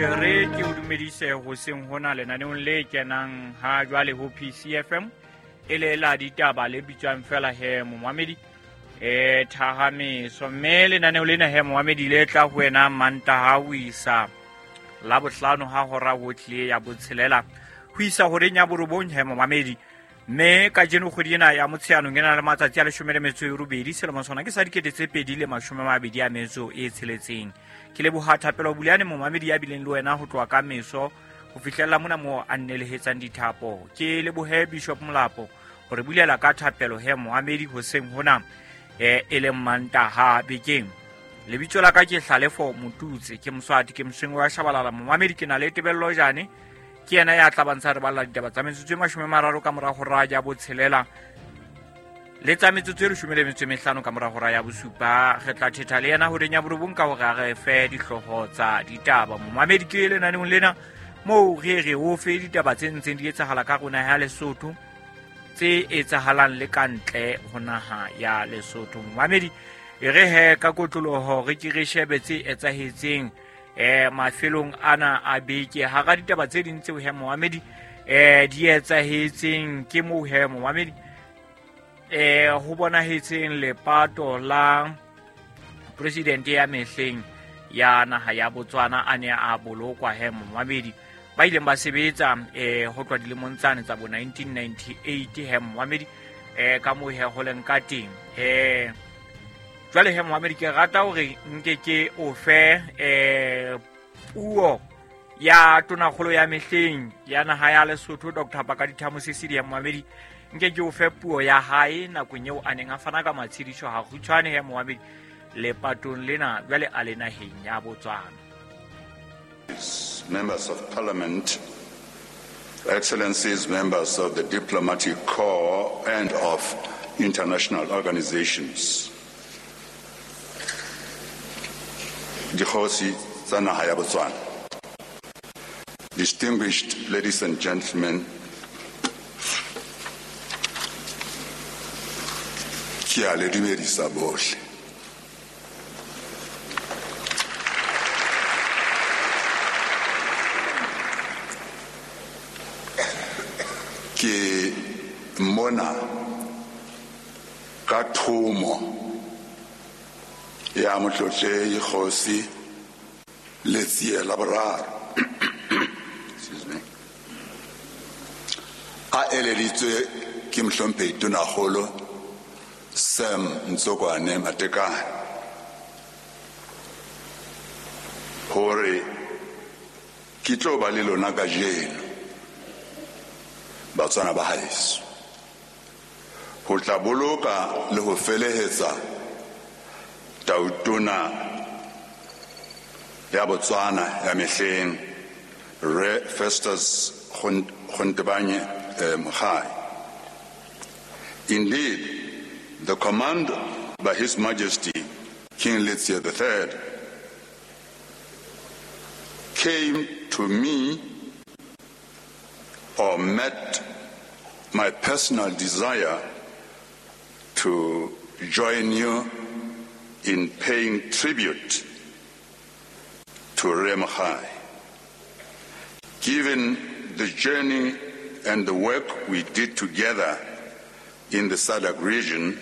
Re ke o dumedise hoseng hona lenaneong le kenang ha jwale ho PCFM e le la ditaba le bitswang fela he momamedi thahameso, mme lenaneo lena he momamedi le tla ho wena Mantaha ho isa Labohlano ha hora ho tlile ya botshelela ho isa horeng ya borobong he momamedi. Mme kajeno kgwedi ena ya Motsheanong e na le matsatsi a 18 selemo sona ke sa 2026. Ke leboha Thapelo Buleane momamedi ya bileng le wena ho tloha ka meso ho fihlella mona moo a nnelehetsang dithapo. Ke lebohe Bishop Molapo hore bulela ka thapelo he momamedi hoseng hona e leng Mantaha bekeng. Lebitso la ka ke Hlalefo Motutse, ke Moswati, ke Mosweng wa Shabalala. Momamedi ke na le Tebello Jane, ke yena ya tla bantsha re balla ditaba tsa metsotso e 30 ka mora hora ya botshelela le tsa metsotso e 15 ka mora hora ya bosupa. Re tla thetha le yena horeng ya borobong ka hore a re fe dihlooho tsa ditaba. Momamedi ke lenaneong lena moo re re o fe ditaba tse ntseng di etsahala ka rona ya Lesotho, tse etsahalang le ka ntle ho naha ya Lesotho. Momamedi e re he ka kotloloho re ke re shebe tse etsahetseng mafelong ana a beke. Hara ditaba tse ding tseo he momamedi di etsahetseng ke moo he momamedi ho bonahetseng lepato la president ya mehleng ya naha ya Botswana a ne a bolokwa he momamedi, ba ileng ba sebetsa ho tloha dilemong tsane tsa bo 1998 he momamedi ka moo he ho leng ka teng. Jwale he momamedi ke rata hore nke ke o fe puo ya tonakgolo ya mehleng ya naha ya Lesotho Dr. Pakalitha Mosisili ya momamedi. Nke ke o fe puo ya hae nakong eo a neng a fana ka matshediso ha kgutshwane he momamedi lepatong lena jwale a le naheng ya Botswana. Members of Parliament, Excellencies, members of the diplomatic corps and of international organizations. Dikgosi tsa naha ya Botswana. Distinguished ladies and gentlemen, ke a le dumedisa bohle. Ke mona ka thomo ya motlotlehi Kgosi Letsie la Boraro. Excuse me. A eleditswe ke mohlomphehi Tonakgolo Sam Ntsokwane Matekane hore ke tlo ba le lona kajeno Batswana ba haeso ho tla boloka le ho felehetsa tautona ya Botswana ya mehleng Rre Festus Gontebanye Mogae. Indeed, the command by His Majesty King Letsie III came to me or met my personal desire to join you in paying tribute to Rre Mogae. Given the journey and the work we did together in the SADC region,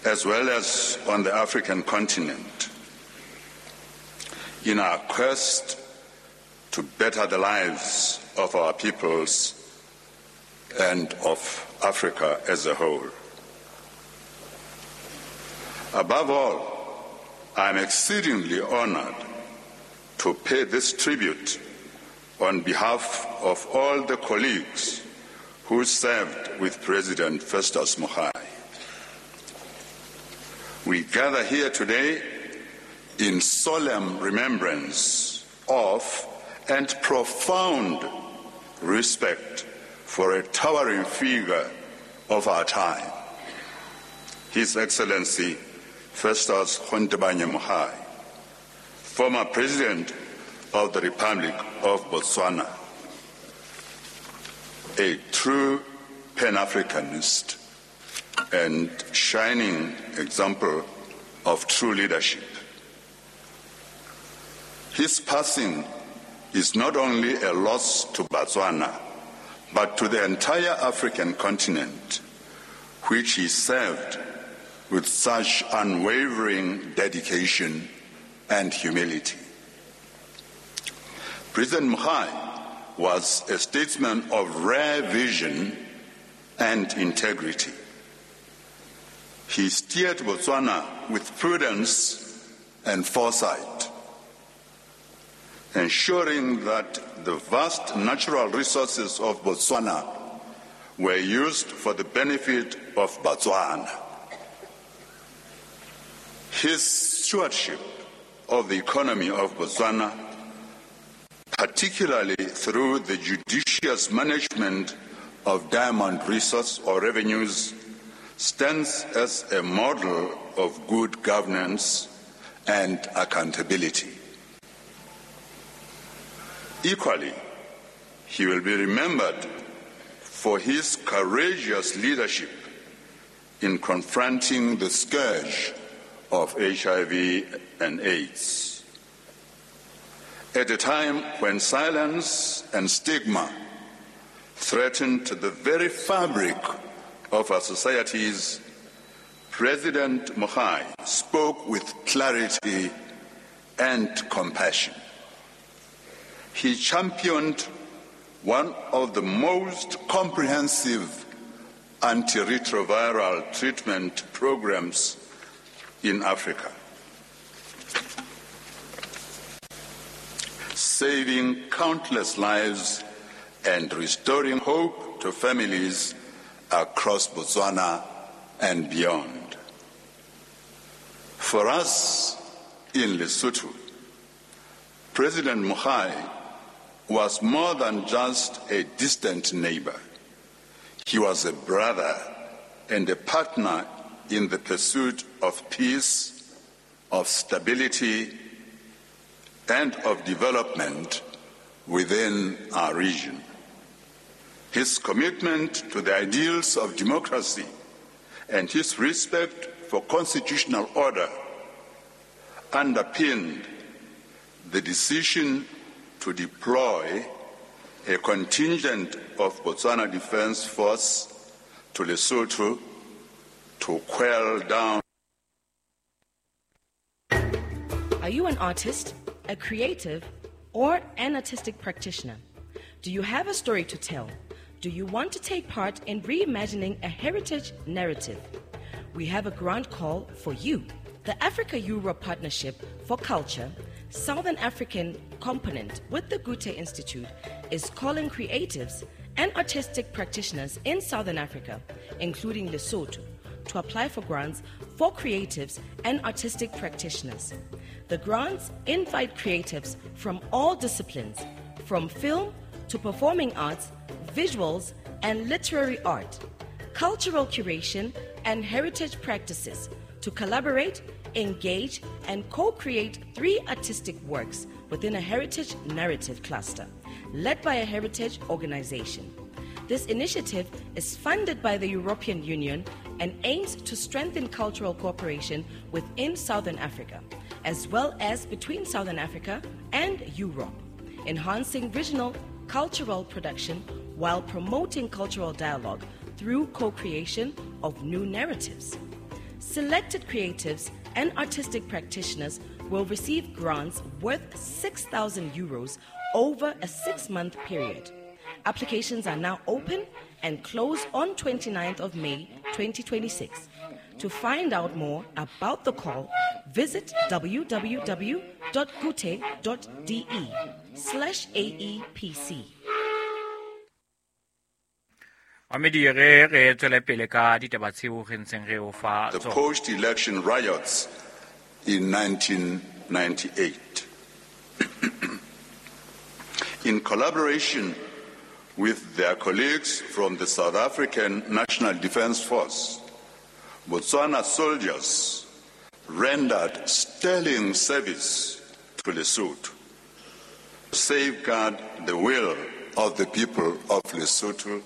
as well as on the African continent, in our quest to better the lives of our peoples and of Africa as a whole. Above all, I am exceedingly honored to pay this tribute on behalf of all the colleagues who served with President Festus Mogae. We gather here today in solemn remembrance of and profound respect for a towering figure of our time, His Excellency Festus Gontebanye Mogae, former President of the Republic of Botswana, a true Pan-Africanist and shining example of true leadership. His passing is not only a loss to Botswana, but to the entire African continent, which he served with such unwavering dedication and humility. President Mogae was a statesman of rare vision and integrity. He steered Botswana with prudence and foresight, ensuring that the vast natural resources of Botswana were used for the benefit of Botswana. His stewardship of the economy of Botswana, particularly through the judicious management of diamond resource or revenues, stands as a model of good governance and accountability. Equally, he will be remembered for his courageous leadership in confronting the scourge of HIV and AIDS. At a time when silence and stigma threatened the very fabric of our societies, President Mogae spoke with clarity and compassion. He championed one of the most comprehensive antiretroviral treatment programs in Africa, saving countless lives and restoring hope to families across Botswana and beyond. For us in Lesotho, President Mogae was more than just a distant neighbor. He was a brother and a partner in the pursuit of peace, of stability, and of development within our region. His commitment to the ideals of democracy and his respect for constitutional order underpinned the decision to deploy a contingent of Botswana Defense Force to Lesotho to quell down. Are you an artist, a creative, or an artistic practitioner? Do you have a story to tell? Do you want to take part in reimagining a heritage narrative? We have a grant call for you. The Africa-Europe Partnership for Culture, Southern African component with the Goethe Institute, is calling creatives and artistic practitioners in Southern Africa, including Lesotho, to apply for grants for creatives and artistic practitioners. The grants invite creatives from all disciplines, from film to performing arts, visuals and literary art, cultural curation and heritage practices to collaborate, engage, and co-create 3 artistic works within a heritage narrative cluster, led by a heritage organization. This initiative is funded by the European Union and aims to strengthen cultural cooperation within Southern Africa, as well as between Southern Africa and Europe, enhancing regional cultural production while promoting cultural dialogue through co-creation of new narratives. Selected creatives and artistic practitioners will receive grants worth 6,000 euros over a 6-month period. Applications are now open and close on 29th of May 2026. To find out more about the call, visit www.goethe.de/AEPC. The post-election riots in 1998. In collaboration with their colleagues from the South African National Defence Force, Botswana soldiers rendered sterling service to Lesotho to safeguard the will of the people of Lesotho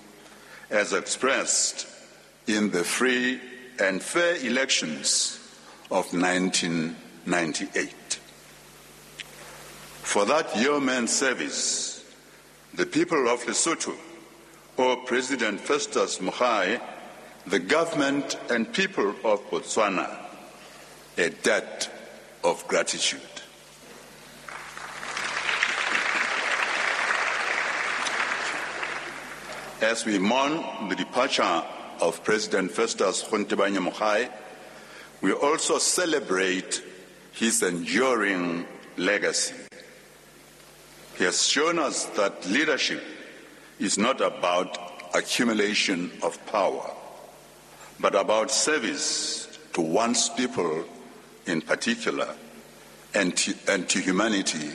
as expressed in the free and fair elections of 1998. For that yeoman service, the people of Lesotho owe President Festus Mogae, the government and people of Botswana, a debt of gratitude. As we mourn the departure of President Festus Gontebanye Mogae, we also celebrate his enduring legacy. He has shown us that leadership is not about accumulation of power, but about service to one's people in particular and to humanity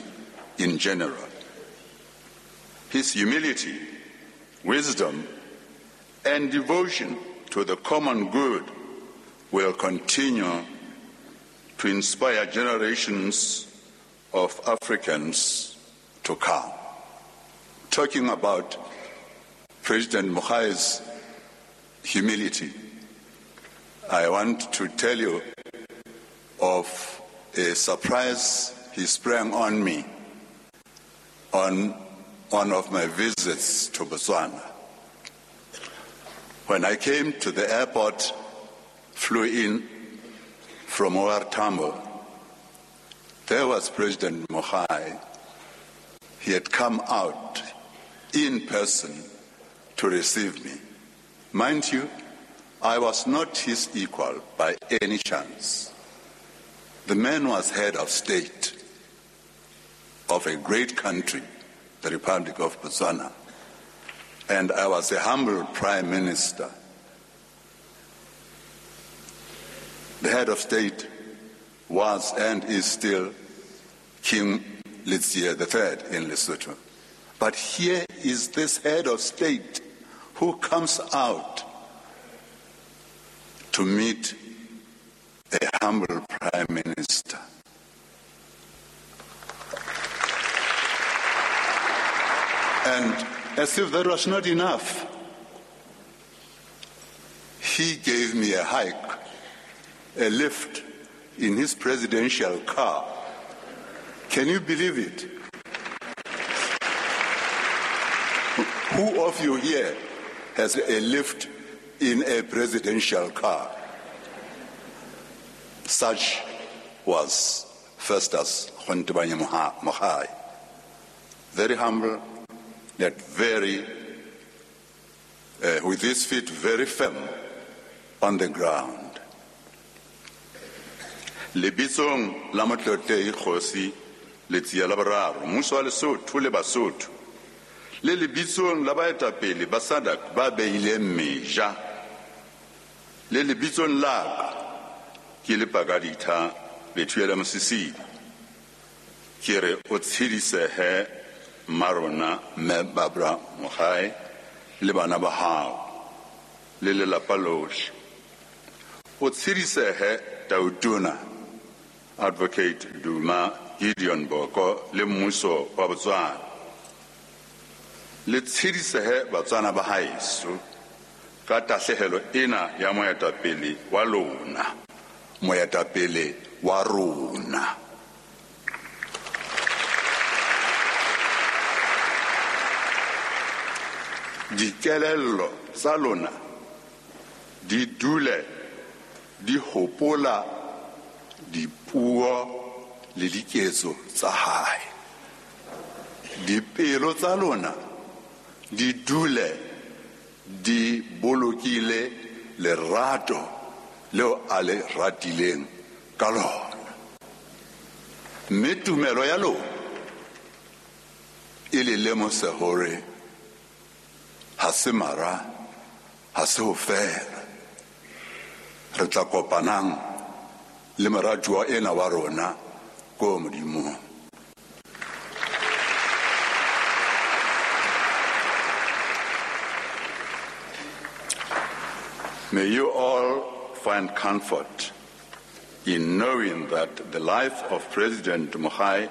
in general. His humility, wisdom, and devotion to the common good will continue to inspire generations of Africans to come. Talking about President Mogae's humility, I want to tell you of a surprise he sprang on me on one of my visits to Botswana. When I came to the airport, flew in from OR Tambo, there was President Mogae. He had come out in person to receive me. Mind you, I was not his equal by any chance. The man was head of state of a great country, the Republic of Botswana, and I was a humble prime minister. The head of state was and is still King Letsie III in Lesotho. But here is this head of state who comes out to meet a humble prime minister. And as if that was not enough, he gave me a hike, a lift in his presidential car. Can you believe it? Who of you here has a lift in a presidential car? Such was Festus Gontebanye Mogae. Very humble, yet very, with his feet very firm on the ground. Lebitsong la Motlotlehi Kgosi Letsie la Boraro, mmuso wa Lesotho le Basotho, le lebitsong la baetapele ba SADC ba beileng meja, le lebitsong la ka ke le Pakaditha Bethuela Mosisili, ke re o tshedisehe mmarona mme Barbara Mogae le bana ba hao le lelapa lohle. O tshedisehe Tautona Advocate Duma Gideon Boko le mmuso wa Botswana. Le tshedisehe Batswana ba haeso ka tahlehelo ena ya moetapele wa lona, moetapele wa rona. Dikelello tsa lona di dule di hopola dipuo le diketso tsa hae. Dipelo tsa lona di dule di bolokile lerato leo a le ratileng ka lona. Mme tumelo ya lona e le lemose hore ha se mara, ha se ho fela. Re tla kopanang le moratuwa ena wa rona ko Modimong. May you all find comfort in knowing that the life of President Mogae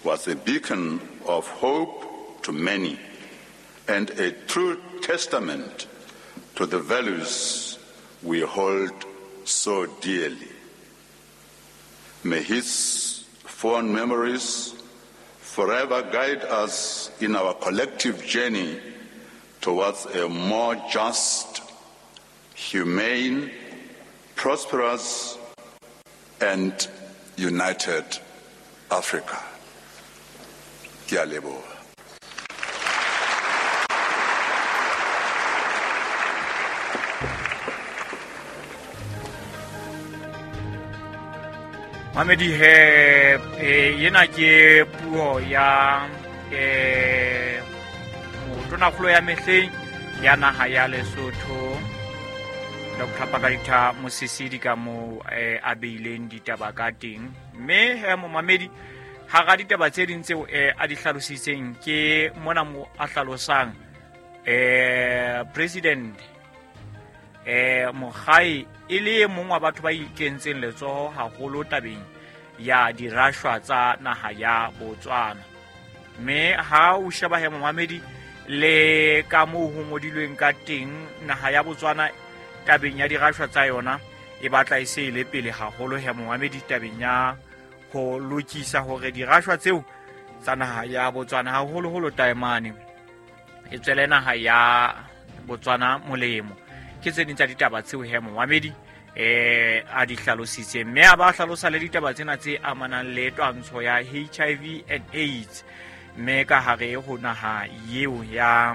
was a beacon of hope to many and a true testament to the values we hold so dearly. May his fond memories forever guide us in our collective journey towards a more just, humane, prosperous, and united Africa. Ke a leboha. Mamedi he ena ke puo ya motonakgolo ya mehleng ya naha ya Lesotho Dr. Pakalitha Mosisili ka moo a beileng ditaba ka teng. Mme he momamedi hara ditaba tse ding tseo a di hlalositseng ke mona mo a hlalosang president Mogae e le mong wa batho ba ikentseng letsoho haholo tabeng ya dirashwa tsa naha ya Botswana. Mme ha o sheba he momamedi le ka moo ho ngodilweng ka teng naha ya Botswana tabeng ya dirashwa tsa yona e batla e se ile pele haholo he momamedi tabeng ya ho lokisa hore dirashwa tseo tsa naha ya Botswana haholoholo taemane e tswele naha ya Botswana molemo. Ke tse ding tsa ditaba tseo he momamedi a di hlalositse, mme a ba hlalosa le ditaba tsena tse amanang le twantsho ya HIV and AIDS mme ka hare ho naha eo ya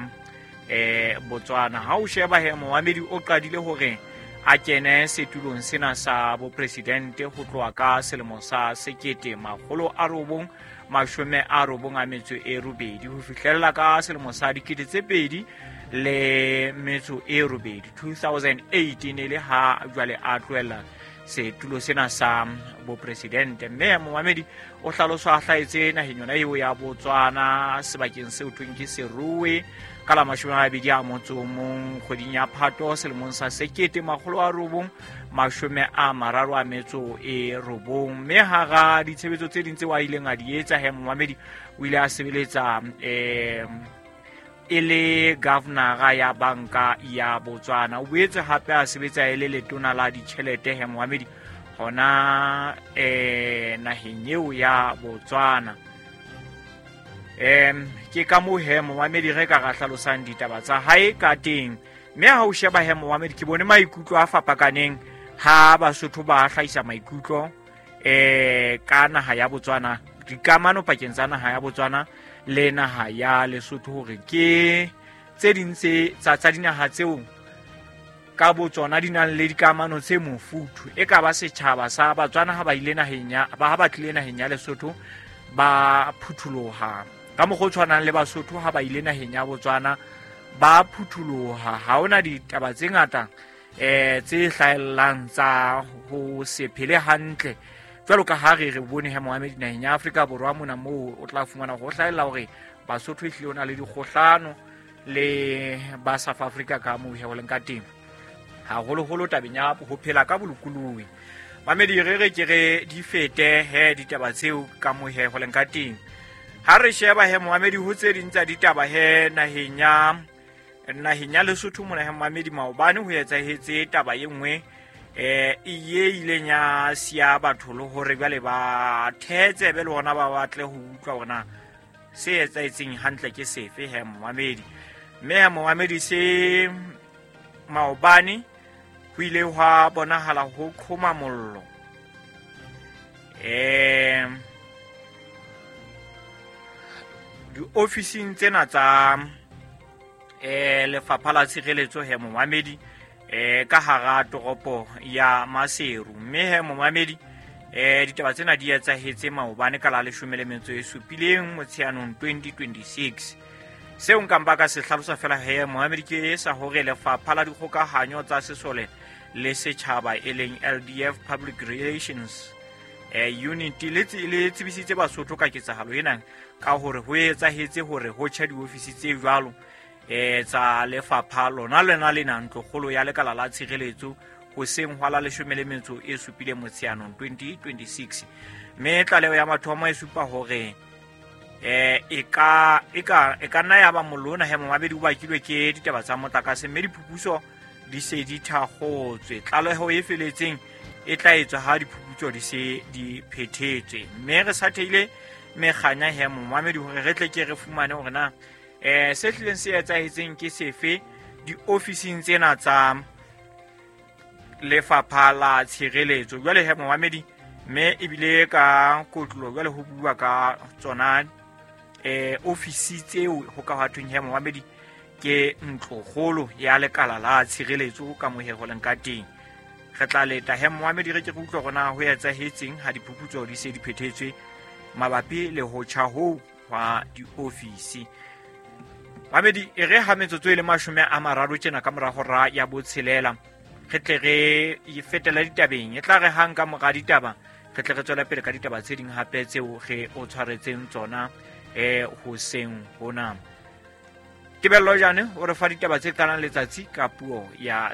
Botswana. Ha o sheba he momamedi o qadile hore a kene setulong sena sa bopresidente ho tloha ka selemo sa 1998 ho fihlella ka selemo sa 2008 2008 ne le ha jwale a tlohela setulo sena sa bopresidente. Mme momamedi o hlaloswa a hlahetse naheng yona eo ya Botswana sebakeng seo thweng ke Serowe ka la 21 kgweding ya Phato selemong sa 1939. Mme hara ditshebetso tse ding tseo a ileng a di etsa he momamedi o ile a sebeletsa e le governor ya banka ya Botswana. O boetse hape a sebetsa e le letona la ditjhelete he momamedi hona naheng eo ya Botswana. Ke ka moo he momamedi re ka ra hlalosang ditaba tsa hae ka teng. Mme ha o sheba he momamedi ke bone maikutlo a fapakaneng ha Basotho ba hlahisa maikutlo ka naha ya Botswana, dikamano pakeng tsa naha ya Botswana le naha ya Lesotho, hore ke tse ding tse tsa dinaha tseo ka botsona di nang le dikamano tse mofuthu. E ka ba setjhaba sa Batswana ha ba ile naheng ya ba ha ba tlile naheng ya Lesotho ba phutholoha ka mokgwa o tshwanang le Basotho ha ba ile naheng ya Botswana ba phutholoha. Ha hona ditaba tse ngata tse hlahellang tsa ho se phele hantle jwalo ka ha re bone he momamedi naheng ya Afrika Borwa mona moo o tla fumana ho hlahella hore Basotho ehlile o na le dikgohlano le ba South Africa ka moo he ho leng ka teng, haholoholo tabeng ya ho phela ka bolokolohi. Mamedi re ke re di fete he ditaba tseo ka moo he ho leng ka teng. Ha re sheba he momamedi ho tse ding tsa ditaba he naheng ya Lesotho mona he momamedi maobane ho etsahetse taba e nngwe e ileng ya siya batho le hore jwale ba thetsebe le hona ba batle ho utlwa hore na se etsahetseng hantle ke sefe he momamedi. Mme he momamedi se maobane ho ile hwa bonahala ho qhoma mollo diofising tsena tsa lefapha la tshireletso he momamedi ka hara toropo ya Maseru. Mme he momamedi ditaba tsena di etsahetse maobane ka la 17 Motsheanong 2026. Seo nka mpa ka se hlalosa fela he momamedi ke sa hore lefapha la dikgokahanyo tsa sesole le setjhaba e leng LDF Public Relations Unit le tsebisitse Basotho ka ketsahalo ena ka hore ho etsahetse hore ho tjha diofisi tse jwalo tsa lefapha lona lena lena ntlokgolo ya lekala la tshireletso hoseng hwa la 17 Motsheanong 2026. Mme tlaleho ya mathomo e supa hore e ka nna ya ba mollo ona he momamedi o bakilwe ke ditaba tsa motlakase, mme diphuputso di se di thakgotswe. Tlaleho e feletseng e tla etswa ha diphuputso di se di phethetswe. Mme re sa theile mekganya he momamedi hore re tle ke re fumane hore na se hlileng se etsahetseng ke sefe diofising tsena tsa lefapha la tshireletso. Jwale he momamedi, mme ebile ka kotlo jwale ho bua ka tsona ofisi tseo ho ka hwathweng he momamedi ke ntlokgolo ya lekala la tshireletso ka mohe ho leng ka teng. Re tla leta he momamedi re ke re utlwe hore na ho etsahetseng ha diphuputso di se di phethetswe mabapi le ho tjha hoo hwa diofisi. Mamedi, e re ha metsotso e le 30 tjena ka mora hora ya 6, re tle re fetela ditabeng. E tla re hang ka mora ditaba re tle re tswele pele ka ditaba tse ding hape tseo re o tshwaretseng tsona hoseng hona. Tebello Jane o re fa ditaba tse qalang letsatsi ka puo ya